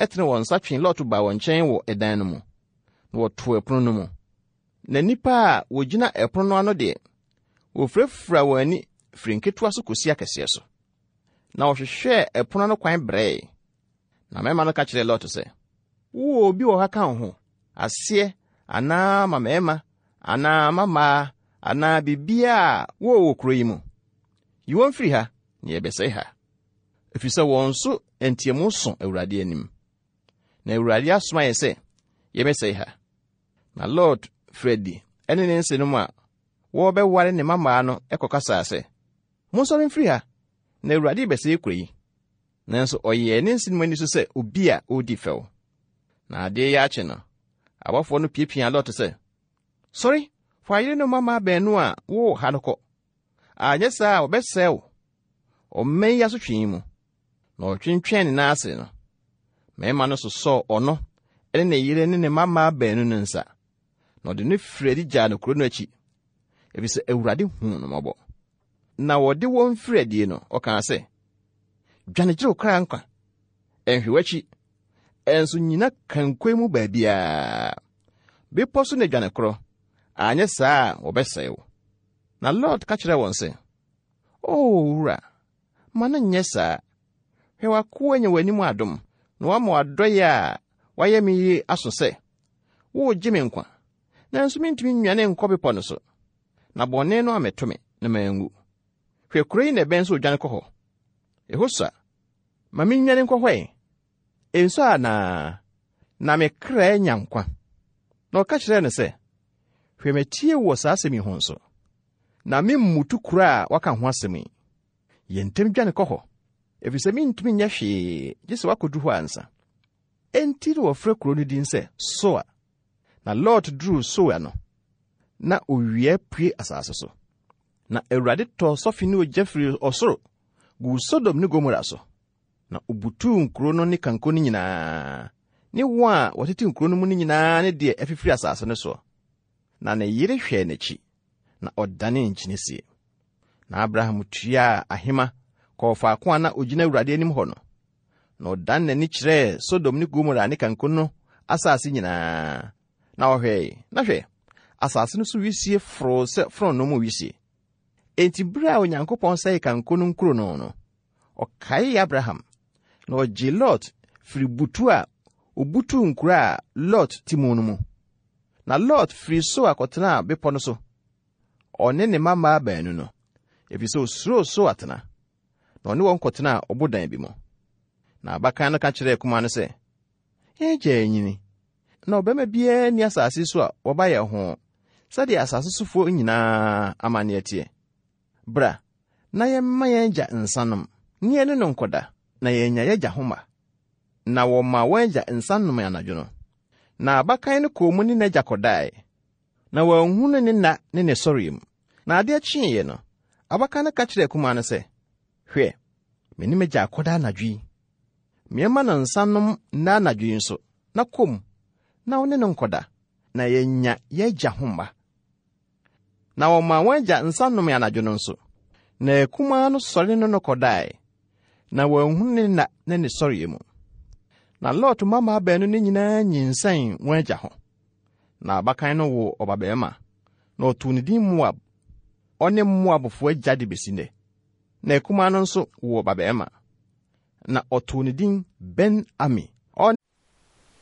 tene wɔn nsa twee Lot baa wɔn nkyɛn wɔ ɛdan no mu, na wɔtoo ɛpono no mu. Na nnipa a wɔgyina ɛpono no ano deɛ, wɔfurafuraa wɔn ani firi nketewa so kɔsi akɛseɛ so. Na wɔhwehwɛɛ ɛpono ano kwan brɛe. Na mmarima no ka kyerɛɛ Lot sɛ, Wowɔ obi wɔ ha ka wo ho, aseɛ anaa mmammarima anaa mmammaa anaa biribiara a wowɔ wɔ kuro yi mu? Yi wɔn firi ha, na yɛbɛsɛe ha. Ɛfiri sɛ wɔn so nteamu so Awurade anim. Na Awurade asoma yɛn sɛ yɛmmɛsɛe ha. Na Lot firi adi ne ne nsenom a wɔrebɛware ne mmammaa no kɔkasaa sɛ, Monsɔre mfiri ha, na Awurade rebɛsɛe kuro yi. Nanso ɔyɛɛ ne nsenom ani so sɛ obi a ɔredi fɛw. Na adeɛ reyɛ akye no, abɔfoɔ no piapiaa Lot sɛ, Sɔre, fa wo yere ne wo mmammaa baanu a wɔwɔ ha no kɔ, anyɛ saa a wɔbɛsɛe wo ɔman yi asotwe yi mu. Na ɔtwentwɛn ne nan ase no, mmarima no sosɔɔ ɔno ne ne yere ne ne mmammaa baanu no nsa, na ɔde no firii adi gyaa no kuro no akyi, efisɛ Awurade huu no mmɔbɔ. Na wɔde wɔn firii adie no, ɔkaa sɛ, Dwane gye wo kra nkwa! Nhwɛ w'akyi, nso nnyina kankoe mu baabiara. Bepɔ so na dwane korɔ, anyɛ saa a wɔbɛsɛe wo. Na Lot ka kyerɛɛ wɔn sɛ, O owura, ma no nyɛ saa! Hwɛ w'akoa anya w'anim adom, na woama w'adɔeɛ a woayɛ me yi aso sɛ, woregye me nkwa. Nanso mintumi nnwane nkɔ bepɔ no so, na bɔne no ammɛto me na manwu. Hwɛ kuro yi na ɛbɛn sɛ odwane kɔ hɔ. Ɛhɔ sua. Ma minnwane nkɔ hɔ ɛ. Ensua anaa? Na me kra anya nkwa. Na ɔka kyerɛɛ no sɛ, Hwɛ matie wo wɔ saa asɛm yi ho nso. Na meremmutu kuro a woaka ho asɛm yi. Yɛ ntɛm dwane kɔ hɔ, efisɛ mintumi nyɛ hwee gye sɛ woakodu hɔ ansa. Enti na wɔfrɛ kuro no din sɛ Soar. Na Lot duruu Soar no, na owia apue asase so. Na Awurade tɔɔ sɔfe ne ogya firii ɔsoro guu Sodom ne Gomora so, na obutuu nkuro no ne kanko no nyinaa, ne wɔn a wɔtete nkuro no mu no nyinaa ne deɛ afifiri asase no soɔ. Na ne yere hwɛɛ n'akyi, na ɔdanee nkyene sie. Na Abraham tuaa ahema kɔɔ faako a na ogyina Awurade anim hɔ no, na ɔdan n'ani kyerɛɛ Sodom ne Gomora ne kanko no asase nyinaa, na ɔhwɛe, na hwɛ, asase no so wisie foroo sɛ fononoo mu wisie. Enti bere a Onyankopɔn sɛee kanko no nkuro no no, ɔkaee Abraham, na ɔgyee Lot firii butu a obutuu nkuro a Lot te mu no mu. Na Lot firii Soar kɔtenaa bepɔ no so, ɔne ne mmammaa baanu no, efisɛ osuroo Soar tena. Na ɔne wɔn kɔtenaa ɔbodan bi mu. Na abakan no ka kyerɛɛ akumaa no sɛ, Yɛn agya anyini, na ɔbarima biara nni asase so a wɔba yɛn ho sɛdeɛ asase sofoɔ nyinaa amanneɛ teɛ. Bra, na yɛmma yɛn agya nsa nom, na yɛne no nkɔda, na yɛanya yɛn agya ho mma. Na wɔmaa wɔn agya nsa nomee anadwo no. Na abakan no kɔɔ mu ne n'agya kɔdae, na wanhunu ne nna ne ne sɔreɛ mu. Na adeɛ kyeeɛ no, abakan no ka kyerɛɛ akumaa no sɛ, Hwɛ, me ne m'agya akɔda anadwo yi. Meɛma no nsa nom nnɛ anadwo yi nso, na kɔ mu, na wo ne no nkɔda, na yɛanya yɛn agya ho mma. Na wɔmaa wɔn agya nsa nomee anadwo no nso. Na akumaa no sɔre ne no kɔdae, na wanhunu ne nna ne ne sɔreɛ mu. Na Lot mmammaa baanu no nyinaa nyinsɛn wɔn agya ho. Na abakan no woo ɔbabarima, na ɔtoo ne din Moab. Ɔne Moabfo agya de besi nnɛ. Na akumaa no nso woo ɔbabarima, na ɔtoo ne din Ben-Ami.